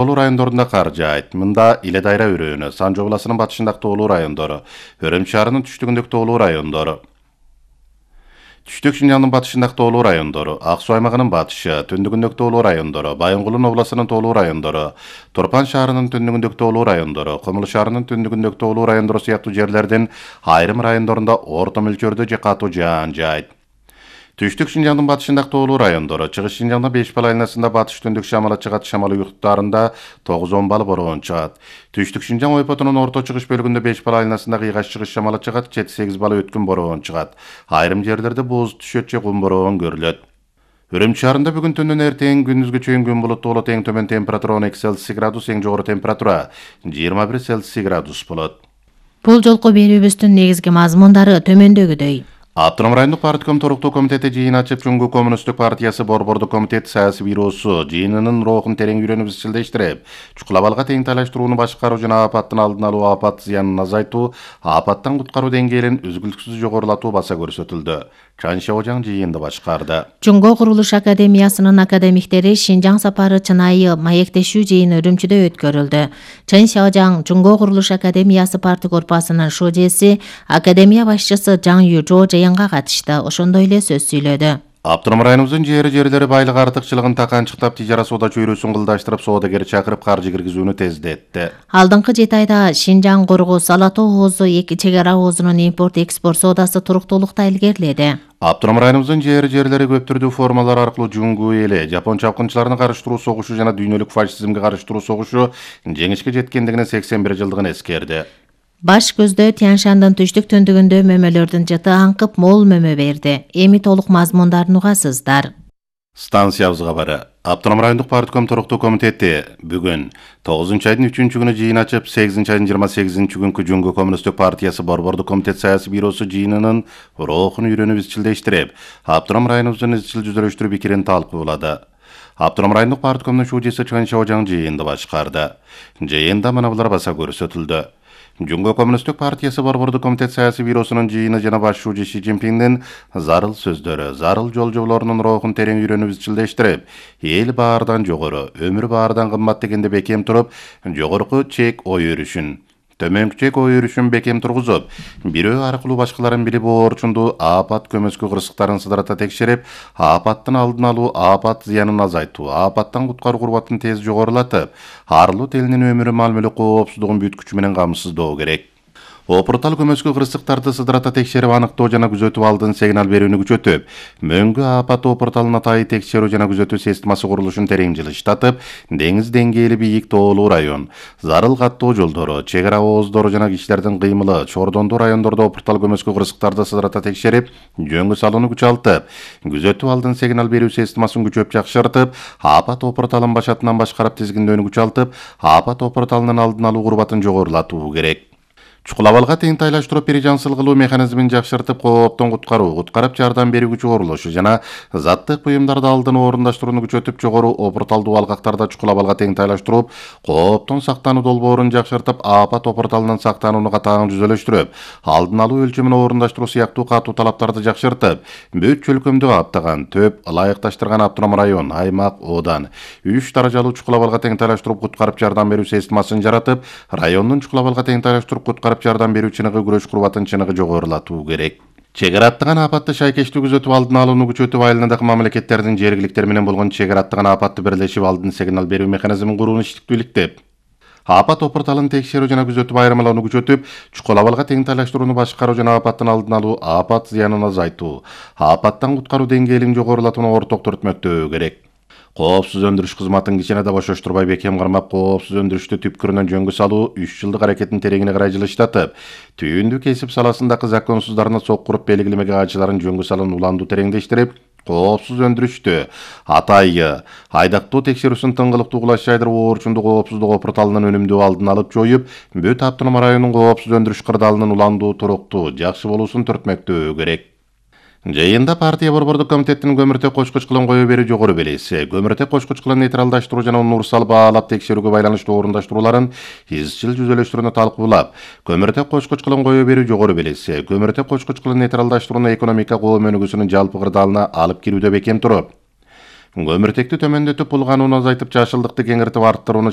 Тоолуу райондорунда кар жаайт. Мында Иле Дайра өрөөнү, Санжы обласынын батышындагы тоолуу райондору, Өрөм шаарынын түштүгүндөгү тоолуу райондору, Түштүк Шинжаңдын батышындагы тоолуу райондору, Ак Суу аймагынын батышы, түндүгүндөгү тоолуу райондору, Байынгулун областынын тоолуу райондору, Турпан шаарынын түндүгүндөгү тоолуу райондору, Комул шаарынын түндүгүндөгү тоолуу райондору сыяктуу жерлердин айрым райондорунда орто мөлчөрдө же катуу жаан жаайт. Түштүк Шинжаңдын батышындагы тоолуу райондору, Чыгыш Шинжаңда 5 балл айланасында батыш түндүк шамалы чыгат, шамалы уюктарында 9-10 балл бороон чыгат. Түштүк Шинжаң ойпотунун орто чыгыш бөлүгүндө 5 балл айланасында кыйгаш чыгыш шамалы чыгат, 7-8 балл өткүн бороон чыгат. Айрым жерлерде бууз түшөт же кум бороон көрүлөт. Өрөм шаарында бүгүн түндөн эртең күндүзгө чейин күн булуттуу болот, эң төмөн температура 12 Цельсий градус, эң жогору температура 21 Цельсий градус болот. Бул жолку берүүбүздүн негизги мазмундары төмөндөгүдөй. Автоном райондук партком торуктуу комитети жыйын ачып, Жумгу коммунисттик партиясы Борбордук комитет саясий бюросу жыйынынын роохун терең үйрөнүп изчилдештирип, чукул абалга тең тайлаштырууну башкаруу жана апаттын алдын алуу, апат зыянын азайтуу, апаттан куткаруу деңгээлин үзгүлтүксүз жогорулатуу баса көрсөтүлдү. Чан Шаожаң жыйынды башкарды. Жумго курулуш академиясынын академиктери Шинжаң сапары чынайы маектешүү жыйыны Үрүмчүдө өткөрүлдү. Чан Шаожаң Жумго курулуш академиясы парты корпусунун шожеси, академия башчысы Жаң Южо жыйынга катышты. Ошондой эле сөз сүйлөдү. Автоном районубуздун жери байлык артыкчылыгын таканчыктап, тижара соода чөйрөсүн кылдаштырып, соодагер чакырып каржы киргизүүнү тездетти. Алдыңкы 7 айда Шинжаң, Коргоз, Ала Тоо оозу, эки чек ара оозунун импорт-экспорт соодасы туруктуулукта илгериледи. Автоном районубуздун жери көп түрдүү формалар аркылуу Жумгу эли, жапон чапкынчыларына карыштыруу согушу жана дүйнөлүк фашизмге карыштыруу согушу жеңишке жеткендигине 81 жылдыгын эскерди. Баш көздө Тянь-Шандын түштүк түндүгүндө мөмөлөрдүн жыты аңкып мол мөмө берди. Эми толук мазмундарын угасыздар. Станциябыз кабары. Автоном райондук партком торуктуу комитети бүгүн 9-айдын 3-күнү жыйын ачып, 8-айдын 28-күнкү Жумгу коммунисттик партиясы Борбордук комитет саясий бюросу жыйынынын роохун үйрөнүп изчилдештирип, автоном районубуздун изчил жүзөлөштүрүү пикирин талкуулады. Автоном райондук парткомдун шужеси Чан Шаожаң жыйынды башкарды. Жыйында мына булар баса көрсөтүлдү. Жумго коммунисттик партиясы Борбордук комитет саясий бюросунун жыйыны жана баш шужи Ши Цзиньпиндин зарыл сөздөрү, зарыл жолжоболорунун роохун терең үйрөнүп изчилдештирип, эл баардан жогору, өмүр баардан кымбат дегенде бекем туруп, жогорку чек ой өрүшүн, төмөнкү чек ой өрүшүн бекем тургузуп, бирөө аркылуу башкаларын билип оорчунду апат көмөскө кырсыктарын сыдырата текшерип, апаттын алдын алуу, апат зыянын азайтуу, апаттан куткаруу курбатын тез жогорулатып, арлуу элинин өмүрү, мал мүлк коопсуздугун бүт күчү менен камсыздоо керек. Опуртал көмөскө кырсыктарды сыдырата текшерип, аныктоо жана күзөтүү алдын сигнал берүүнү күчөтүп, мөңгү апат опурталын атайы текшерүү жана күзөтүү системасы курулушун терең жылыштатып, деңиз деңгээли бийик тоолуу район, зарыл каттоо жолдору, чек ара ооздору жана кишилердин кыймылы, чордондуу райондордо опуртал көмөскө кырсыктарды сыдырата текшерип, жөнгө салууну күчалтып, күзөтүү алдын сигнал берүү системасын күчөп жакшыртып, апат опурталын башатынан башкарып тизгиндөөнү күчалтып, апат опурталынын алдын алуу курбатын жогорулатуу керек. Чукул абалга тең тайлаштыруу пережансыл кылуу механизмин жакшыртып, кооптон куткаруу, куткарып жардам берүүчү курулушу жана заттык буюмдарды алдын орундаштырууну күчөтүп, жогору опурталдуу алкактарда чукул абалга тең тайлаштырып, кооптон сактануу долбоорун жакшыртып, апат опурталынан сактанууну катаң жүзөлөштүрүп, алдын алуу өлчөмүн орундаштыруу сыяктуу катуу талаптарды жакшыртып, бүт чөлкөмдү каптаган, төп ылайыкташтырган автоном район, аймак, оодан 3 даражалуу чукул абалга тең тайлаштырып, куткарып жардам берүү системасын жаратып, райондун чукул абалга тең тайлаштырып, куткарып жардам берүү чыныгы күрөш курбатын чыныгы жогорулатуу керек. Чек ара аттаган апатты шайкештүү күзөтүп, алдын алууну күчөтүп, айылындагы мамлекеттердин жергиликтер менен болгон чек ара аттаган апатты бирлешип, алдын сигнал берүү механизмин курууну иштиктүүлүктөп, апат опурталын текшерүү жана күзөтүп айырмалоону күчөтүп, чукул абалга тең тайлаштырууну башкаруу жана апаттын алдын алуу, апат зыянын азайтуу, апаттан куткаруу деңгээлин жогорулатууну орток түртмөктөө керек. Коопсуз өндүрүш кызматын кичине да бошоштурбай бекем кармап, коопсуз өндүрүштү түпкүрүнөн жөнгө салуу 3 жылдык аракеттин тереңине карай жылыштатып, түйүндү кесип саласындагы законсуздарына сок куруп, белгилемеге кайчыларын жөнгө салууну уланду тереңдештирип, коопсуз өндүрүштү атайы айдактоо текшерүүсүн тыңгылыктуу кулаш жайдырып, оорчундуу коопсуздук опурталынын өнүмдүү алдын алып жоюп, бүт автоном районунун коопсуз өндүрүш кырдаалынын уландуу, туруктуу, жакшы болуусун түртмөктөө керек. Жыйында партия Борбордук комитеттин көмүртек кочкуч кылын кое берүү жогору белеси, көмүртек кочкуч кылын нейтралдаштыруу жана универсал баалап текшерүүгө байланыштуу орундаштырууларын изчил жүзөлөштүрүүнү талкуулап, көмүртек кочкуч кылын кое берүү жогору белеси, көмүртек кочкуч кылын нейтралдаштырууну экономика коом өнүгүүсүнүн жалпы кырдаалына алып кирүүдө бекем туруп, көмүртекти төмөндөтүп, булганууну азайтып, жашылдыкты кеңиртип арттырууну